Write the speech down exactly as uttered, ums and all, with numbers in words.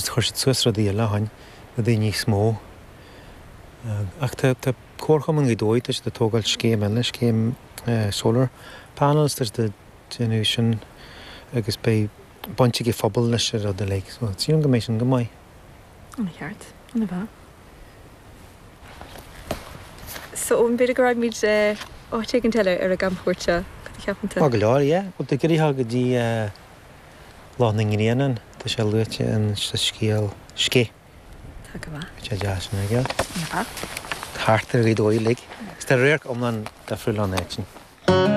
chuir siad suas rudaí eile ó shin, rudaí níos mó. Ach tá tá Comharchumann Ghaoth Dobhair, tá siad ag tógáil scéim eile, scéim solar panels, tá siad ag déanamh sin agus beidh baint ag an phobal leis an rud uilig, so sílim go mbeidh sin go maith. An-cheart, an-mhaith. So b'fhéidir go raghaimid áit éigin eile ar an gcamchuairt seo, cad a cheapann tú? Tá go leor, yeah. Bhuel tá go go dtí Loch na nGrianán, tá sé luaite in sa scéal Scéith. Tá go maith. Tá sé deas sin aige. An-mhaith. Thart ar Ghaoth Dobhair uilig. Is tá radharc iomlán difriúil ann áit sin.